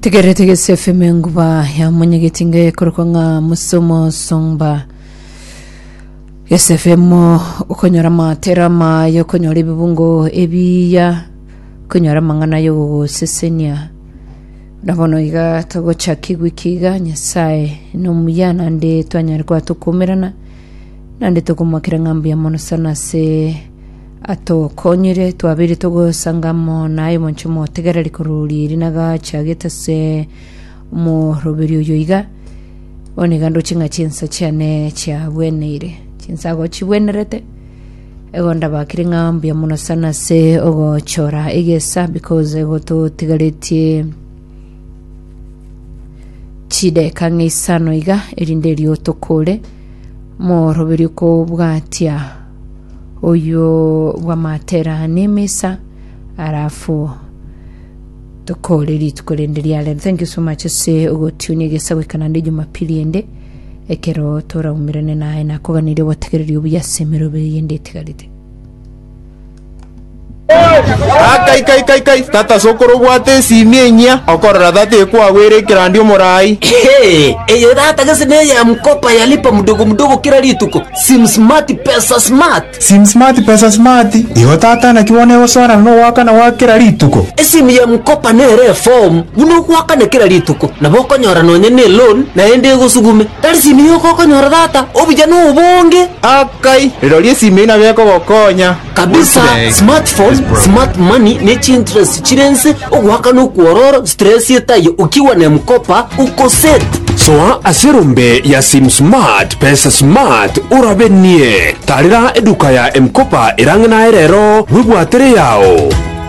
Tegerete gese FM enguba ya monyegeti nge korokwa ng'a musomo songba gese FM okonyora amatera amaya okonyora ebibungo ebiya okonyora amang'ana yogogosesenia na bono iga togochaka ewiki iga nyasaye nomuya naende twanyare koba tokomerana naende tokomoakera ng'a mbuya mono sana ase Atokonyire, twabeire togosanga amo naye omonche omotegereri korwa riiri nagachagete ase omoroberi oyo iga. Bono iga ndoche ng'a chinsa chiane chiabweneire, chinsago chibwenerete, igo ndabakire ng'a mbuya mono sana ase ogochora egesa because igo totigaretie chideka ng'a isano iga erinde erio tokore omoroberi okobwatia. Oyio bw'amatera nemesa alafu tokore rituko rende ria rero. Thank you so much ase ogotunia egesa goika naende Jumapili ende ekero toraumerane naye nakoganirie obotegereri obuya ase emeroberio yende etigarete. Akai kai kai kai tata sokoro obwate esimi enyia okorora tata ekwagwera ekerandi omorai. Ehe, eye tata gese neye M-Kopa ya lipa mdogo mdogo kera rituko. Sim smart pesa smart. Sim smart pesa smart, igo tata naki bono egosoanana nogoakana gwa kera rituko? Esimu ya M-Kopa nere eform buna ogoakana kera rituko. Nabo okonyora nonye ne loan naende egosugume. Tari simu yoka okonyora tata, obuya nobonge. Akai, rirorio esimi eyio nabo ekogokonya. Kabisa, smartphone, smart money ne chiinterest chire nse, ogoakana okwororo, stress etaiyo, ukiwa na M-Kopa uko set. Soa ase erombe ya Sim Smart, Pesa Smart, orabenie. Tarera eduka ya M-Kopa erang'e naye rero, bwebwatere eyao.